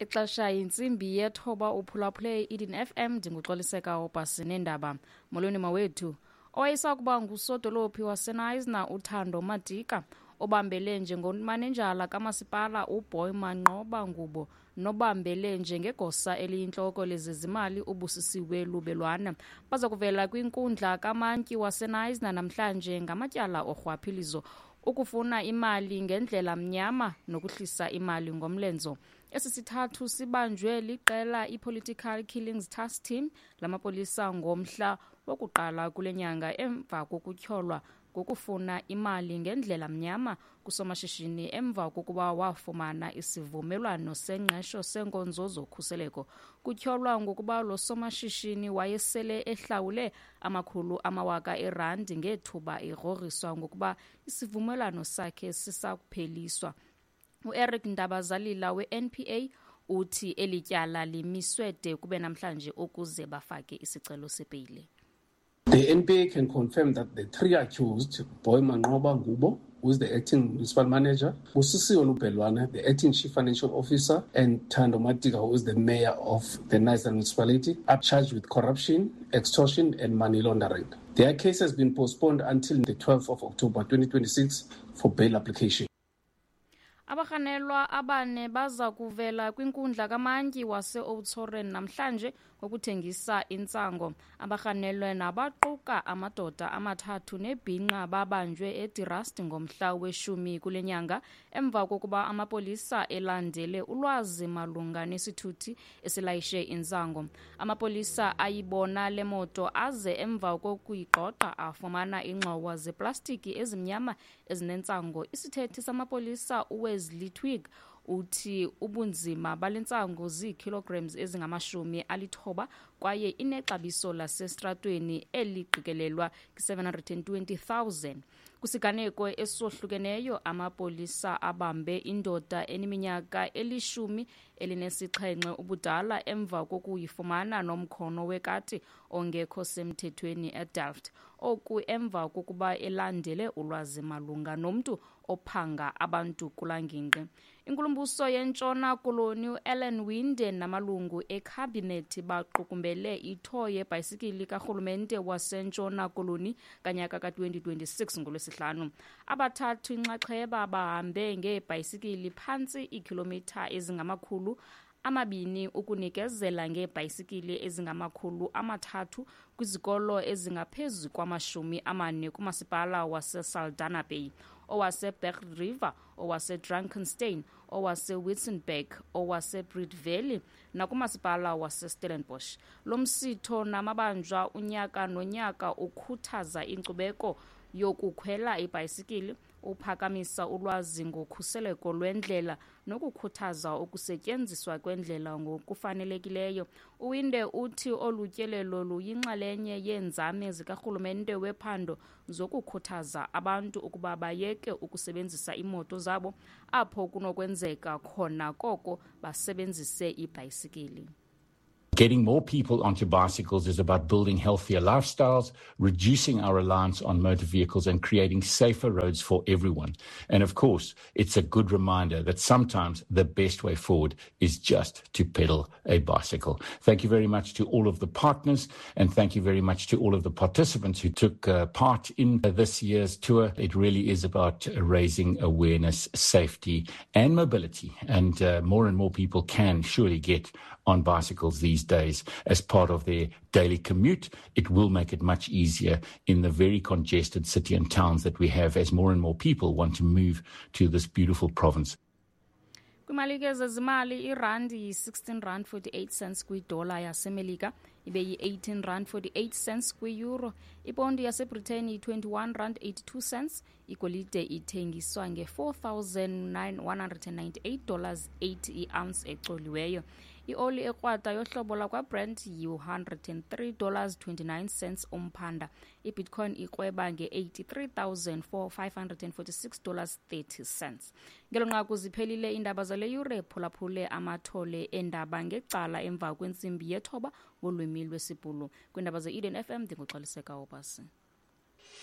Ixesha yintsimbi yethoba, uphulaphule i-Eden FM. Ndinguxoliseka Obhasi neendaba. Molweni mawethu. Owayesakuba ngusodolophi waseKnysna uThando Madika, obambele njengomanejala kamasipala uBoy Manqoba Ngubo, nobambele njengegosa eliyintloko lezezimali uBusisiwe Lubelwana baza kuvela kwinkundla kamantyi waseKnysna namhlanje ngamatyala orhwaphilizo, ukufuna imali ngendlela mnyama nokuhlisa imali ngomlenzo. Esi sithathu sibanjwe liqela i-Political Killings Task Team lamapolisa ngomhla wokuqala kule nyanga emva kokutyholwa ngokufuna imali ngendlela mnyama kusomashishini emva kokuba wafumana isivumelwano sengqesho senkonzo zokhuseleko. Kutyholwa ngokuba lo somashishini wayesele ehlawule amakhulu amawaka erandi ngethuba egrogriswa ngokuba isivumelwano sakhe sisakupheliswa. UEric Ndabazalila we-NPA uthi eli tyala limiswe de kube namhlanje ukuze bafake isicelo sebheyile. The NPA can confirm that the three accused, Boy Manqoba Ngubo, who is the acting municipal manager, Busisiwe Lubelwana, the acting chief financial officer, and Thando Madika, who is the mayor of the Knysna municipality, are charged with corruption, extortion, and money laundering. Their case has been postponed until the 12th of October 2026 for bail application. Abarhanelwa abane baza kuvela kwinkundla kamantyi wase-Oudtshoorn namhlanje ngokuthengisa intsango. Abarhanelwe nabaquka amadoda amathathu nebhinqa babanjwe eDe Rust ngomhla weshumi kule nyanga emva kokuba amapolisa elandele ulwazi malunga nesithuthi esilayishe intsango. Amapolisa ayibona le moto aze emva kokuyigqogqa afumana iingxowa zeplastiki ezimnyama ezinentsango. Isithethi samapolisa uWesley Twigg uthi ubunzima bale ntsango ziikilograms ezingama-90 kwaye inexabiso lasestratweni eliqikelelwa kwi-720 000. Kwisiganeko esohlukeneyo, amapolisa abambe indoda eneminyaka eli-17 ubudala emva kokuyifumana nomkhono wekati ongekho semthethweni eDelft. Oku emva kokuba elandele ulwazi malunga nomntu ophanga abantu kulaa ngingqi. Inkulumbuso yeNtshona Koloni uAllan Winde namalungu ekhabhinethi baqukumbele itour yebhayisikili karhulumente waseNtshona Koloni kanyaka ka-2026 ngoLwesihlanu. Abathathu inxaxheba bahambe ngeebhayisikili phantsi iikhilomitha ezingama-200 ukunikezela ngeebhayisikili ezingama-300 kwizikolo ezingaphezu kwama-40 kumasipala waseSaldanha Bay, owaseBerg River, owaseDrakenstein, owaseWitzenberg, owaseBreede Valley nakumasipala waseStellenbosch. Lo msitho namabanjwa unyaka nonyaka ukhuthaza inkcubeko yokukhwela ibhayisikili, uphakamisa ulwazi ngokhuseleko lwendlela nokukhuthaza ukusetyenziswa kwendlela ngokufanelekileyo. UWinde uthi olu tyelelo luyinxalenye yeenzame zikarhulumente wephondo zokukhuthaza abantu ukuba bayeke ukusebenzisa iimoto zabo apho kunokwenzeka khona, koko basebenzise ibhayisikili. Getting more people onto bicycles is about building healthier lifestyles, reducing our reliance on motor vehicles, and creating safer roads for everyone. And of course, it's a good reminder that sometimes the best way forward is just to pedal a bicycle. Thank you very much to all of the partners, and thank you very much to all of the participants who took part in this year's tour. It really is about raising awareness, safety, and mobility. And more people can surely get on bicycles these days as part of their daily commute. It will make it much easier in the very congested city and towns that we have as more and more people want to move to this beautiful province. Kwimalike zezimali, irandi yi-16 rand 48 cents kwidola yaseMelika, ibe yi-18 rand 48 cents kwi-euro. Iponti yaseBritain yi-21 rand 82 cents. Igolide ithengiswa nge-$4,198 80 i-ounce ecoliweyo. Ioli ekrwada yohlobo lakwaBrent yi-$103 29 cents umphanda. Ibitcoin ikrweba nge-$83,546 30 cents. Ngelo nqaku ziphelile iindaba zale yure. Phulaphule amathole eendaba ngecala emva kwentsimbi yethoba ngolwimi lwesiBhulu kwiindaba ze-Eden FM. Ndinguxoliseka Obasi.